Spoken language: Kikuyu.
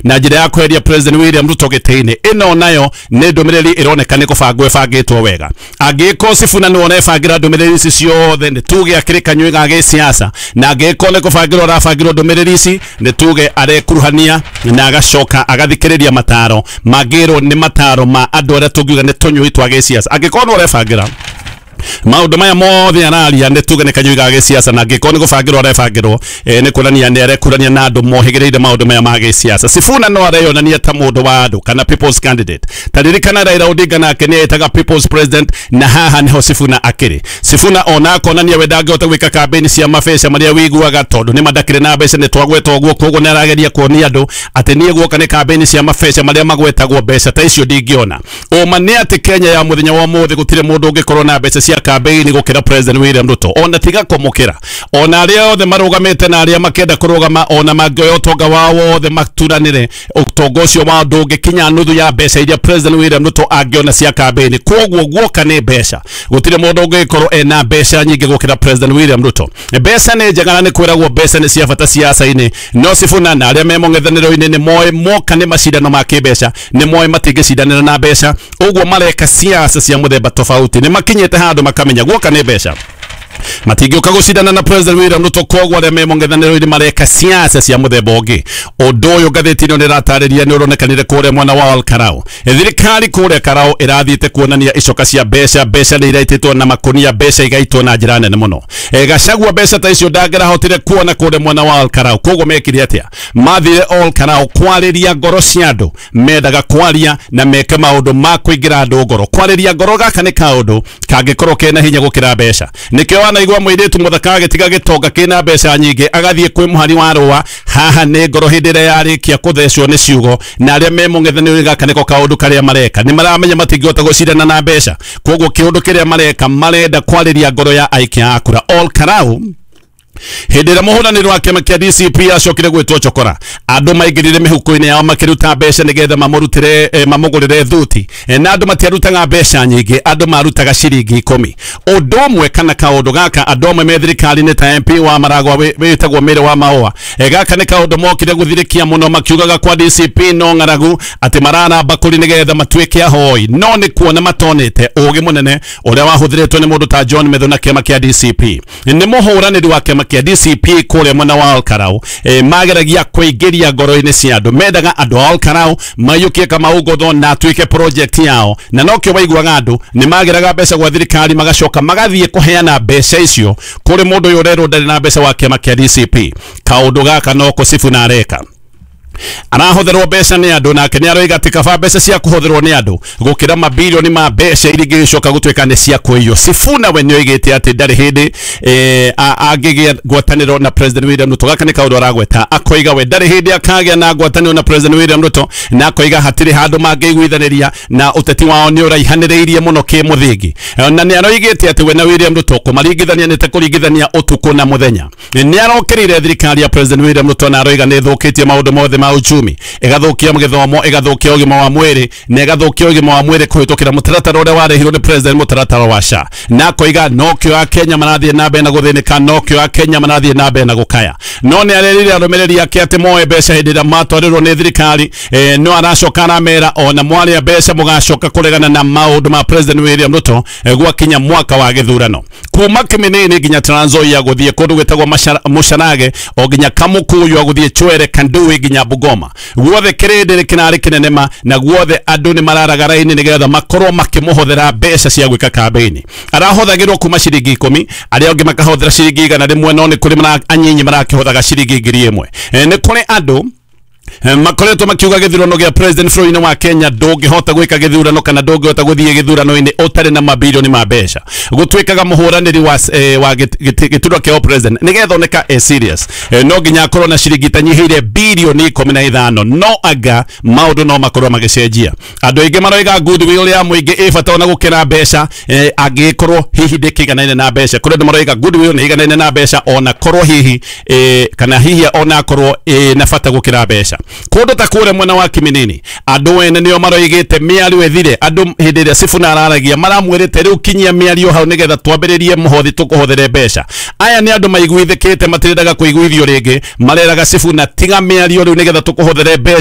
na njĩra ya kweheria President William Ruto gĩtĩ-inĩ. Ĩno nayo nĩ ndũmĩrĩri ĩroneka nĩ kũbangwo ĩbangĩtwo wega. Angĩkorwo Sifuna nĩwe ũrebangĩra ndũmĩrĩri ici ciothe, nĩ tuge akĩrĩ kanyui ga gĩsiasa, na angĩkorwo nĩ kũbangĩrwo arabangĩrwo ndũmĩrĩri ici, nĩ tuge arekuruhania na agacoka agathikĩrĩria mataro mangĩrwo nĩ mataro ma andũ arĩa tũngiuga nĩ tũnyui twa gĩsiasa. Angĩkorwo nĩwe ũrebangĩra maũndũ maya mothe araria, nĩ tuge nĩ kanyui ga gĩsiasa, na angĩkorwo nĩ gũbangĩrwo arebangĩrwo, nĩ kuonania nĩ arekurania na andũ mohĩgĩrĩire maũndũ maya ma gĩsiasa. Sifuna no areyonania ta mũndũ wa andũ kana people's candidate. Ta ririkana Raila Odinga nake nĩ etaga people's president, na haha nĩho Sifuna akĩrĩ. Sifuna ona akonania we ndangĩhota gwĩka campaign cia mabeca marĩa wĩiguaga, tondũ nĩ mandakĩrĩ na mbeca nĩ twagweta ũguo, koguo nĩ arageria kuonia andũ atĩ niĩ guoka nĩ campaign cia mabeca marĩa magwetagwo, mbeca ta icio ndingĩona. Ũma nĩ atĩ Kenya ya mũthenya wa ũmũthĩ gũtirĩ mũndũ ũngĩkorwo na mbeca cia campaign gũkĩra President William Ruto, ona tiga kũmũkĩra, ona arĩa othe marũgamĩte na arĩa makĩenda kũrũgama, ona mangĩoya ũtonga wao wothe maturanĩre, ũtonga ũcio wao ndũngĩkinya nuthu ya mbeca iria President William Ruto angĩona cia campaign. Koguo guoka nĩ mbeca, gũtirĩ mũndũ ũngĩkorwo ena mbeca nyingĩ gũkĩra President William Ruto. Mbeca nĩ njega na nĩ kwĩragwo mbeca nĩ cia bata siasa-inĩ, no Sifuna na arĩa me mũng'ethanĩro-inĩ nĩ moĩ moka nĩ macindano ma kĩmbeca, nĩ moĩ matingĩcindanĩra na mbeca, ũguo mareka siasa cia mũthemba tofauti. Nĩ makinyĩte handũ makamenya guoka nĩ mbeca, matingĩũka gũcindana na President William Ruto, koguo arĩa me mũng'ethanĩro-inĩ mareka siasa cia mũthemba ũngĩ. Ũndũ ũyũ ngathĩti ĩno nĩratarĩria nĩ ũronekanire kũrĩa mwena wa Ol Kalou. Thirikari kũrĩa Karau ĩrathiĩte kuonania icoka cia mbeca, mbeca nĩ iraitĩtwo na makunia, mbeca igaitwo na njĩra nene mũno. Gachagua mbeca ta icio ndangĩrahotire kuona kũrĩa mwena wa Ol Kalou, koguo mekire atĩa? Mathire Ol Kalou kwarĩria ngoro cia andũ, mendaga kwaria na meke maũndũ ma kũingĩra andũ ngoro. Kwarĩria ngoro gaka nĩ kaũndũ kangĩkorwo kena hinya gũkĩra mbeca. Nĩkĩo wanaigua mũirĩtu mũthaka agĩtiga gĩtonga kĩna mbeca nyingĩ agathiĩ kwĩ mũhari wa rũa, haha nĩ ngoro hĩndĩ ĩrĩa yarĩkia kũthecwo nĩ ciugo, na arĩa me mũng'ethanĩro gaka nĩko kaũndũ karĩa mareka. Nĩ maramenya matingĩhota gũcindana na mbeca, koguo kĩũndũ kĩrĩa mareka, marenda kwarĩria ngoro ya aikia a kura. Ol Kalou hĩndĩ ĩrĩa mũhũranĩri wa kĩama kĩa DCP acokire gwĩtwo chokora, andũ maingĩrire mĩhuko-inĩ yao makĩruta mbeca nĩgetha mamũrutĩre, mamũgũrĩre thuti, na andũ matiarutaga mbeca nyingĩ, andũ marutaga ciringi 10. Ũndũ ũmwe kana kaũndũ gaka andũ amwe me thirikari-inĩ ta MP wa Maragwa wĩtagwo Mary wa Maũa, gaka nĩ kaũndũ mokire gũthirĩkia mũno, makiugaga kwa DCP no ng'aragu atĩ marara mbakũri nĩgetha matuĩke ahoi, no nĩ kuona matonete ũgĩ mũnene ũrĩa wahũthĩrĩtwo nĩ mũndũ ta John Methu na kĩama kĩa DCP. Nĩ mũhũranĩri wa kĩama kĩa DCP kũrĩa mwena wa Ol Kalou, mageragia kũingĩria ngoro-inĩ cia andũ, mendaga andũ a Ol Kalou maiyũkie Kamau Ngotho na atuĩke project yao, na nokĩo waiguaga andũ nĩ mageraga mbeca gwa thirikari magacoka magathiĩ kũheana mbeca icio kũrĩ mũndũ ũyũ ũrerwo ndarĩ na mbeca wa kĩama kĩa DCP. Kaũndũ gaka noko Sifuna areka, arahũthĩrwo mbeca nĩ andũ, nake nĩ aroiga atĩ kaba mbeca cia kũhũthĩrwo nĩ andũ gũkĩra mabilioni ma mbeca iria ingĩgĩcoka gũtuĩka nĩ cia kũiywo. Sifuna we nĩoigĩte atĩ ndarĩ hĩndĩ angĩgĩa ngwatanĩro na President William Ruto. Gaka nĩ kaũndũ aragweta, akoiga we ndarĩ hĩndĩ akagĩa na ngwatanĩro na President William Ruto, na akoiga hatirĩ handũ mangĩiguithanĩria na ũteti wao nĩ ũraihanĩrĩirie mũno kĩmũthingi, na nĩ aroigĩte atĩ we na William Ruto kũmaringithania nĩ ta kũringithania ũtukũ na mũthenya. Nĩ arokĩrĩire thirikari ya President William Ruto na aroiga nĩ ĩthũkĩtie maũndũ mothe ma uchumi, ĩgathũkia gĩthomo, ĩgathũkia ũgima wa mwĩrĩ, na ĩgathũkia ũgima wa mwĩrĩ kũhĩtũkĩra mũtaratara ũrĩa warehirwo nĩ president, mũtaratara wa SHA, na akoiga nokĩo Akenya marathiĩ na mbere na gũthĩnĩka, nokĩo Akenya marathiĩ na mbere na gũkaya. No nĩ arerire arũmĩrĩri ake atĩ moe mbeca hĩndĩ ĩrĩa matwarĩrwo nĩ thirikari, no aracoka aramera ona mwarĩa mbeca mũgacoka kũregana na maũndũ ma President William Ruto, gwakinya mwaka wa gĩthurano. Kuma Kiminini nginya Trans Nzoia gũthiĩ kũndũ gwĩtagwo Mũcarage, o nginya Kamukuyu gũthiĩ Chwere, Kandui nginya Bungoma, guothe kĩrĩndĩ kĩrarĩ kĩnene ma, na guothe andũ nĩ mararaga raini nĩgetha makorwo makĩmũhũthĩra mbeca cia gwĩka campaign. Arahũthagĩrwo kuma ciringi 10, arĩa angĩ makahũthĩra ciringi 100, no nĩ kũrĩ anyinyi marakĩhũthaga ciringi 1000. Nĩ kũrĩ andũ makoretwo makiuga gĩthurano gĩa president bũrũri-inĩ wa Kenya ndũngĩhota gwĩka gĩthurano kana ndũngĩhota gũthiĩ gĩthurano-inĩ ũtarĩ na mabilioni ma mbeca. Gũtuĩkaga mũhũranĩri wa gĩturwa kĩa president nĩgetha oneka e serious, no nginya akorwo na ciringi itanyihĩire bilioni 15, no anga maũndũ no makorwo magĩcenjia. Andũ aingĩ maroiga goodwill ya mũingĩ ĩ bata ona gũkĩra mbeca, angĩkorwo hihi ndĩkĩiganaine na mbeca. Kũrĩ andũ maroiga goodwill nĩ ĩiganaine na mbeca ona korwo hihi, kana hihi ona akorwo na bata gũkĩra mbeca. Kũndũ ta kũrĩa mwena wa Kiminini andũ ene nĩo maroigĩte mĩario ĩthire. Andũ hĩndĩ ĩrĩa Sifuna araragia maramwĩrĩte rĩu kinyia mĩario hau nĩgetha twambĩrĩrie mũhothi tũkũhũthĩre mbeca. Aya nĩ andũ maiguithĩkĩte, matirendaga kũiguithio rĩngĩ, mareraga Sifuna tiga mĩario rĩu nĩgetha tũkũhũthĩre mbeca.